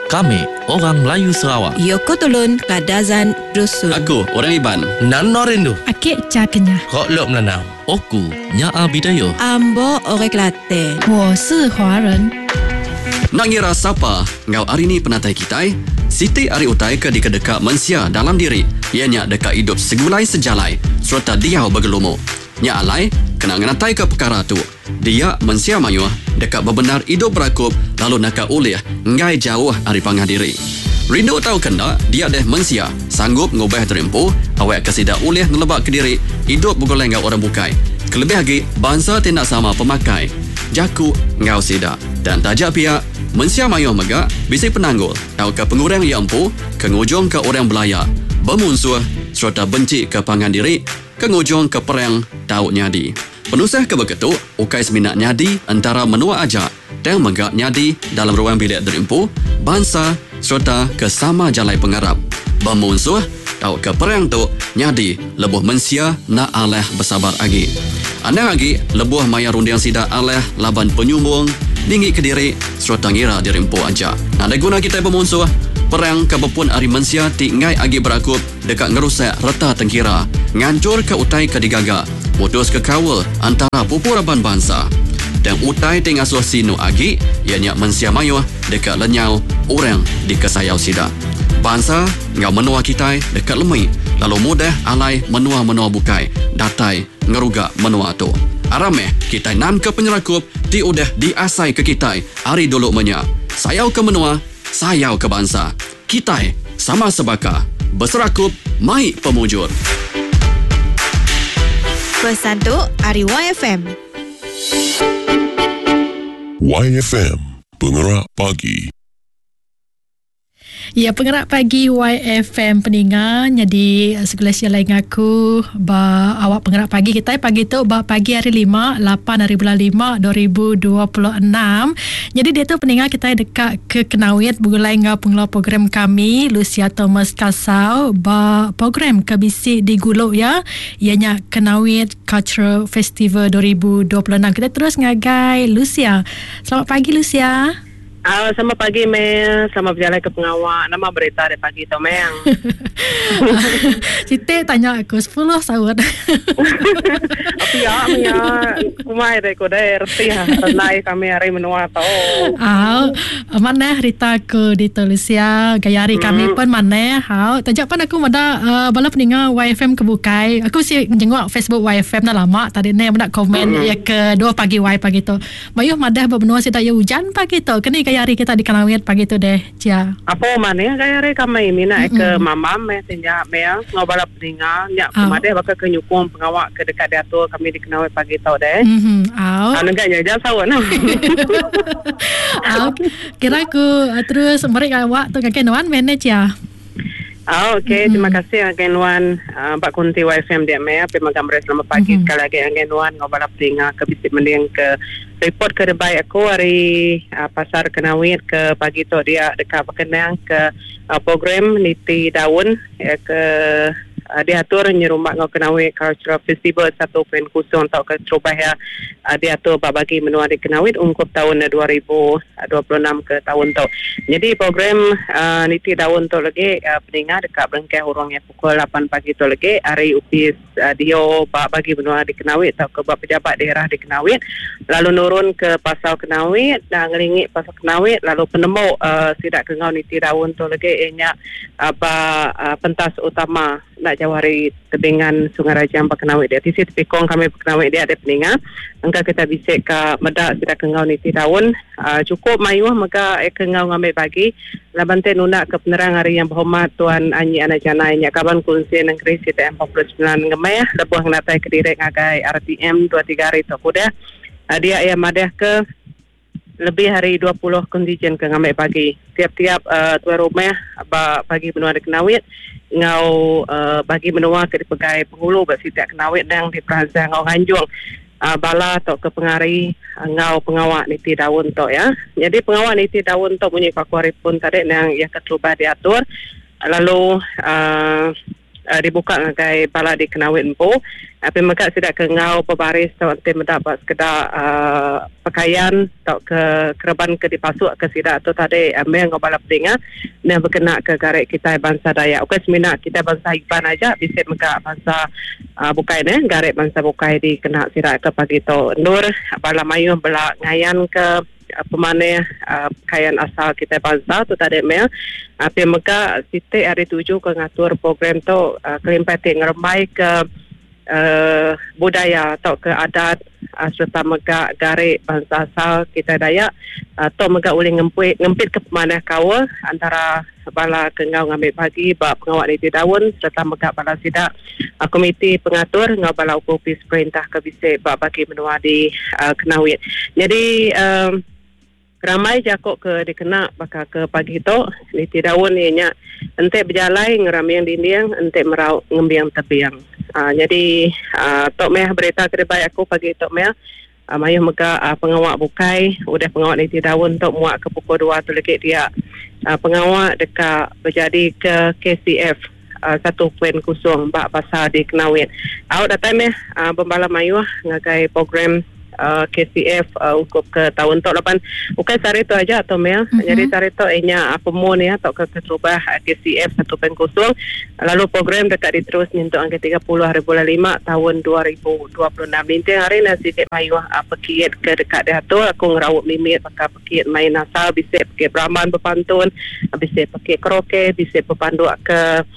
Kami orang Melayu Sarawak. Yoko Tulun Kadazan Dusun. Aku orang Iban. Nano rindu. Ake Cha Kenyah. Kok Lok Melanau. Oku Nyaa Bidayuh. Ambo Orang Kelate. 我是华人。 Enda ngira sapa enggau ari ni penatai kitai, siti ari utai ke dikedeka mensia dalam diri iya nya deka idup segulai sejalai sereta diau begelumu. Nya alai, kena ngenataika pekara tu, dia mensia mayuh deka bebendar idup berakup lalu naka ulih enggai jauh ari pangan diri. Rindu tauka enda, dia deh mensia sanggup ngubah diri empu awakka sida ulih ngeleba kediri idup begulai enggau orang bukai, kelebih agi bansa ti enda sama pemakai, jaku enggau sida. Tang taja pia, mensia mayuh mega bisi penanggul tauka pengurang iya empu ke ngujungka orang belaya, bemunsuh sereta benchi ke pangan diri ke ngujungka perang tau nyadi. Penusah ke baka tu ukai semina nyadi entara menua aja tang mega nyadi dalam ruang bilik diri empu, bansa sereta ke sama jalai pengarap. Bemunsuh tauka perang tu nyadi lebuh mensia enda alah besabar agi. Anang agi lebuh maya runding sida alah laban penyumbung, ninggi kediri sereta ngira diri empu aja. Nadai guna kitai bemunsuh, perang ke bepun ari mensia ti enggai agi berakup deka ngerusak reta tengkira, nganchurka utai ke digaga, mutuska kaul antara pupu raban bansa. Tang utai ti ngasuh sinu agi iya nya mensia mayuh deka lenyau orang dikesayau sida. Bansa enggau menua kitai deka lemi lalu mudah alai menua-menua bukai datai ngeruga menua tu. Aram meh kitai nanka penyerakup ti udah diasaika kitai ari dulu menya. Sayauka menua, sayauka bansa. Kitai sama sebaka, beserakup mai pemujur. Pesan tu ari YFM. YFM, Pengerak Pagi. Ya pengerak pagi YFM peninga nyadi segulai sejalai ngaku ba awak pengerak pagi kitai pagi tu ba pagi hari lima lapan hari bulan lima 2026. Nyadi diatu peninga kitai deka ke Kenawit begulai enggau pengeluar program kami Lucia Thomas Kasau ba program ke bisi digulu iya iya nya Kenawit Cultural Festival 2026. Kitai terus ngagai Lucia. Selamat pagi Lucia. Uh, selamat pagi Mel, selamat berjalai ke pengawa. Nama berita hari pagi tu Mel? Siti tanya aku 10 saut. Pia menya kumai deh ku deh reti ha renai kami hari menua tu. Au, manah rita aku di Malaysia, gaya hari kami pun manah. Au, taja pan aku meda uh, bala peninga YFM ke bukai. Aku si jenguk Facebook YFM dah lama tadi ni meda komen ya ke 2 pagi Y pagi tu. Mayuh madah ba menua sida iya ujan pagi tu. Keni gaya hari kita di Kanowit pagi tu deh, Chia? Apo manih gaya hari kami mina ke mamam meh ti nya meh enggau bala peninga nya ku madah baka ke nyukung pengawa ke deka diatur kami di Kanowit pagi tu deh. Au. Nengah nya aja saut nah. Au. Kira ku terus meri awak tu ngagai nuan meh neh Chia. Au okey terima kasih ngagai nuan ba kunti YFM dia meh pia mega meri selamat pagi sekali agi ngagai nuan enggau bala peninga ke bisi mending ke report ke dibai aku ari pasar Kenawit ke pagi tu dia deka bekenang ke program niti daun ke diatur nyerumba enggau Kenawit Cultural Festival 1.0 tauka terubah iya diatur ba bagi menua di Kenawit ungkup taun 2026 ke taun tu. Nyadi program niti daun tu legi peninga deka berengkah urung iya pukul lapan pagi tu legi ari opis DO ba bagi menua di Kenawit tauka ba pejabat daerah di Kenawit lalu nurun ke pasar Kenawit ngelingi pasar Kenawit lalu penemu sida ke enggau niti daun tu legi iya nya ba pentas utama. Enda jauh ari tebingan Sungai Rajang ba Kenawit dia. Tisi tepikong kami ba Kenawit dia deh peninga. Engka kita bisi ka meda sida ke enggau niti taun. Aaa chukup mayuh mega ke enggau ngambi bagi laban ti nunda ke penerang ari Yang Berhormat Tuan Anyi Anak Janai nya kaban Kunsil Nengeri CTM 49 Ngemeh lebuh ngenatai kediri ngagai RTM dua tiga hari tu ke udah. Dia iya madah ke. Lebih ari 20 kontijen ke ngambi bagi tiap-tiap tuai rumah ba bagi menua di Kenawit enggau bagi menua ke dipegai Penghulu ba sitak Kenawit endang diperansang enggau nganjung bala tauka pengari enggau pengawa niti daun tu iya. Nyadi pengawa niti daun tu munyi ku aku hari pun tadi endang iya keterubah diatur lalu. dibuka ngagai bala di Kenawit empu. Api mega sida ke enggau bebaris tu enti meda ba sekeda pekayan tauka kereban ke dipasuk ke sida tu tadi meh enggau bala peninga meh bekena ke gari kitai bansa Dayak. Ukai semina kitai bansa Iban aja bisi mega bansa bukai neh gari bansa bukai dikena sida ke pagi tu endur bala mayuh bela ngayan ke pemanah pekayan asal kitai bansa tu tadi meh. Pia mega siti ari tuju ke ngatur program tu kelimpah ti ngerembai ke budaya tauka adat sereta mega gari bansa asal kitai Dayak tu mega ulih ngempit ke pemanah kaul antara bala ke enggau ngambi bagi ba pengawa niti daun sereta mega bala sida komiti pengatur enggau bala opis perintah ke bisi ba bagi menua di Kenawit. Nyadi ramai jaku ke dikena baka ke pagi tu niti daun iya nya enti bejalai ngeraming dinding enti merau ngembing tebing. Nyadi tu meh berita ke dibai aku pagi tu meh. Mayuh mega pengawa bukai udah pengawa niti daun tu muak ke pukul 2 tu legi dia pengawa deka bejadika KCF 1.0 ba pasar di Kenawit. Au datai meh bebala mayuh ngagai program KCF ungkup ke taun tu laban ukai sehari tu aja tu meh. Nyadi sehari tu iya nya pemun iya tauka keterubah KCF 1.0 lalu program deka diterus nyentuk ngagai 30 hari bulan lima taun 2026. Ninting hari enda siti mayuh pekit ke deka diatur aku ngeraup mimit baka pekit main asal bisi pekit beraman bepantun bisi pekit karaoke bisi bepanduk ke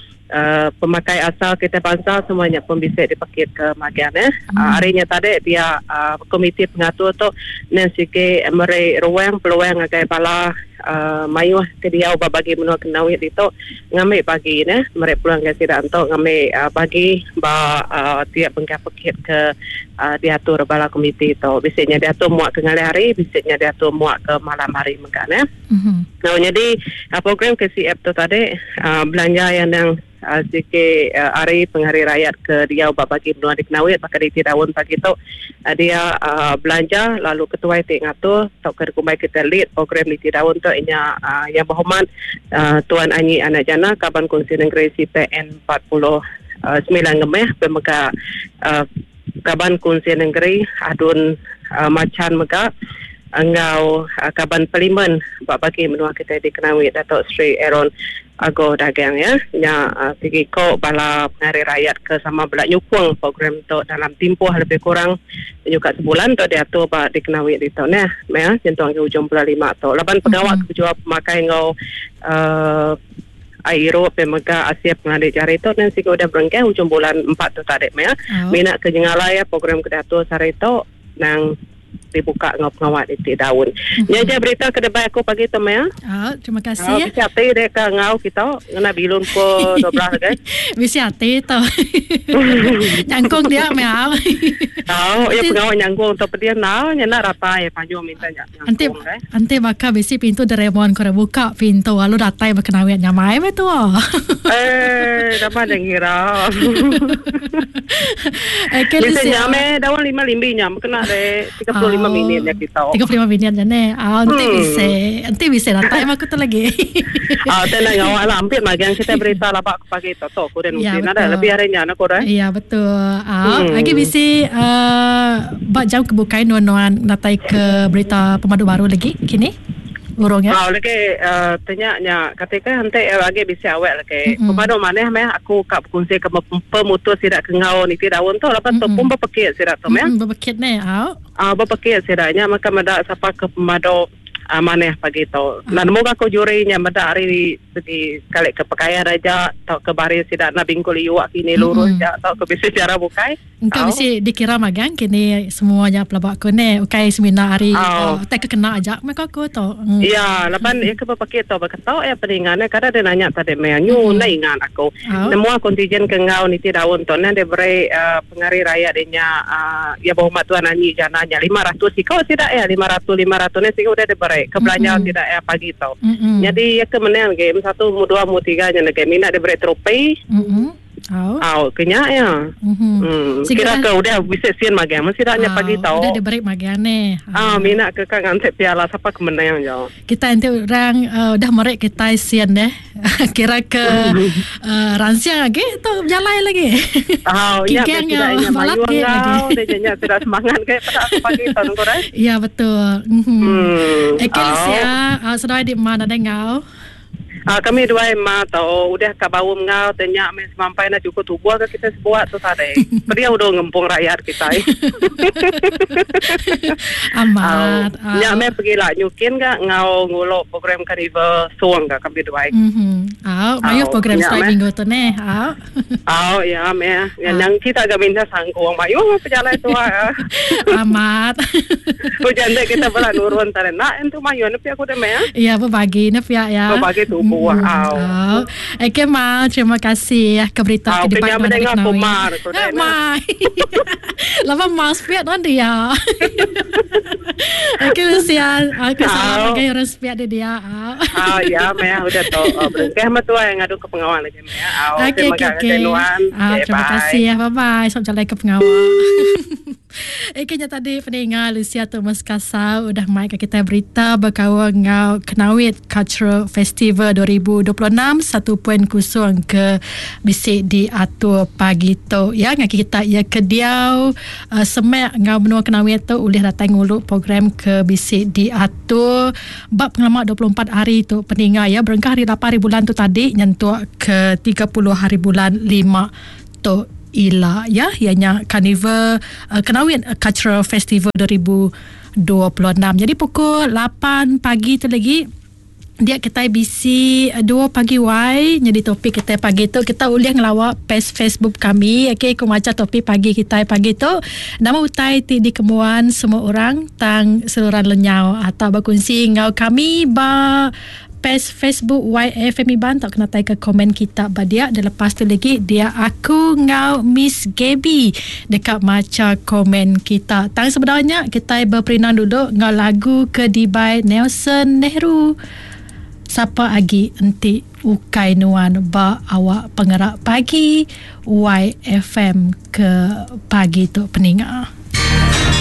pemakai asal kitai bansa semua nya pun bisi dipekit ke magang neh. Ari nya tadi dia komiti pengatur tu nen sigi meri ruang peluang ngagai bala mayuh ke diau ba bagi menua Kenawit ditu ngambi bagi neh meri peluang ngagai sida entu ngambi bagi ba tiap bengkah pekit ke diatur bala komiti tu. Bisi nya diatur muak ke ngalih hari, bisi nya diatur muak ke malam hari mega neh. Lalu nyadi program KCF tu tadi belanja iya nang Siti ari pengari rayat ke diau ba bagi menua di Kenawit baka di Ti Daun pagi tu dia belanja lalu ketuai ti ngatur tauka dikumbai kita lead program di Ti Daun tu inya Yang Berhormat Tuan Anyi Anak Jana Kaban Kunsil Nengeri CPN 49 Ngemeh pia mega Kaban Kunsil Nengeri Adun Machan mega enggau Kaban Parlimen ba bagi menua kitai di Kenawit Dato Sri Aaron Ago Dagang iya nya sigi ko bala pengari rayat ke sama bela nyukung program tu dalam timpuh lebih kurang nyuka sebulan tu diatur ba di Kenawit ditu neh meh nyentuk ngagai ujung bulan lima tu laban pengawa ke bejual pemakai enggau uhh Ai irup pia mega asil pengelandik jari tu nang siku udah berengkah ujung bulan empat tu tadi meh. Mina ke nyengalai iya program ke diatur sehari tu nang dibuka enggau pengawa niti daun. Nya aja berita ke debai aku pagi tu meh. Oh, terima kasih. Oh, bisi ati dek ke enggau kita ngena bilun pukul 12 lagi. Bisi ati tu. Nyangkung dia meh. Oh, ya pengawa nyangkung tu pedih nau nya nak ratai panjung minta nya. Enti enti baka bisi pintu Doraemon ko buka pintu lalu datai baka nawit nyamai meh tua. Eh, nama nya ngira. Okay, Bisi nya meh daun lima limbi nya kena de 35 oh, minit nya kita. 35 minit nya ne. Ah enti hmm. bisi, enti bisi datai mah aku tu lagi. Ah tena ngawa lah ampit magang kita berita laba aku pagi tu tu ku den ya, nada lebih hari nya nak ku deh. Ya betul. Ah hmm. lagi bisi uh, Ba jam ke bukai nuan-nuan datai ke berita pemadu baru lagi kini? Urung ya. Oh lagi uh, tanya nya ketika enti uh, agi bisi awak lagi. Mm-hmm. Pemadu manah meh aku ka berkongsi ke pemutus sida ke enggau niti daun tu laban tu pun bepekit sida tu meh. Mm-hmm, bepekit ne au. Ah uh, bepekit sida nya maka meda sapa ke pemadu uh, manah pagi tu. Nah nemu aku juri nya meda ari Segi sekali ke pekayan aja tauka baris sida enda bingkul iuk kini lurus ja tauka bisi chara bukai. Engka bisi dikira magang kini semua nya pelaba aku neh ukai semina ari utai ke kena aja meh ko aku tu. Iya laban iya ke bepekit tu beketo iya peninga neh kada deh nanya tadi meh nyu enda ingat aku. Semua kontijen ke enggau niti daun tu neh diberi pengari rayat inya iya Berhormat Tuan Anyi Jana nya 500 iko sida iya 500 500 ni sigi udah diberi ke belanja sida iya pagi tu. Nyadi iya ke menang game satu mu dua mu tiga nya nege mina diberi tropi. Au. Au ke nya ya. Mhm. Kira ke udah bisi sin magang mesti dah nya pagi tau. Udah diberi magang ni. Ah mina ke ka nganti piala sapa ke menang jo. Kita enti orang udah meri kitai sin deh. Kira ke ransing agi tu bejalai lagi. Au nya Kigang sida nya balat mayuh agi enggau lagi. dia nya sida semangat ke peda aku pagi tau nunggu deh. Ya betul. Mhm. Okey Au. Lucia, seduai di mana nadai enggau? Kami duai ma tau udah ka baum enggau te nya meh semampai enda cukup tubuh ga kitai sebuat tu tadi. Pedih udah ngempung rakyat kitai. Amat. Au nya meh pegila nyukin ga enggau ngulu program karnival Song ga kami duai. Mhm. Au mayuh program Nya seduai meh. minggu tu neh. Au. Au ya meh. Nang kita ga minta sangkung mayuh meh pejalai tua. Amat. Ujan dek kita bela nurun tadi nak entu mayuh ne pia ku deh meh. Ya berbagi ne pia ya. Berbagi tubuh au. Au. Okey mal terima kasih ya ke berita Au ke dibai kenyang nuan mendengar ari ku Kenawi. mar ku deh ne. Mai. Lama mas pia nuan dia. Okey Lucia, aku salam Au. ngagai orang sepiak dia dia. Au. Au ya meh udah tu berengkah meh tuai ngadu ke pengawa lagi meh. Au Okey terima okey kasih okey. nuan. Ah, Okey terima bye. kasih ya. Bye bye. Selamat jalai ke pengawa. Okey nya tadi peninga Lucia Thomas Kasau udah mai ke kita berita berkaul enggau Kenawit Cultural Festival 2026 1.0 ke bisi diatur pagi tu ya ngaki kita ya ke diau semak enggau menua Kenawit tu ulih datai ngulu program ke bisi diatur ba pengelama 24 hari tu peninga ya berengkah hari 8 hari bulan tu tadi nyentuk ke 30 hari bulan 5 tu ila ya ianya Carnival Kenawit Cultural Festival 2026. Jadi pukul 8 pagi tu lagi dia kita bisi 2 pagi wai jadi topik kita pagi tu kita ulih ngelawak page Facebook kami. Okey aku maca topik pagi kita pagi tu nama utai ti dikemuan semua orang tang seluruhan lenyau atau berkongsi enggau kami ba page Facebook YFM Iban tak kena tai ke komen kita ba dia. Dan lepas tu lagi dia aku ngau Miss Gaby dekat maca komen kita. Tang sebenarnya kita berperinang dulu ngau lagu ke dibai Nelson Nehru. Siapa agi enti ukai nuan ba awak pengerak pagi YFM ke pagi tu peninga.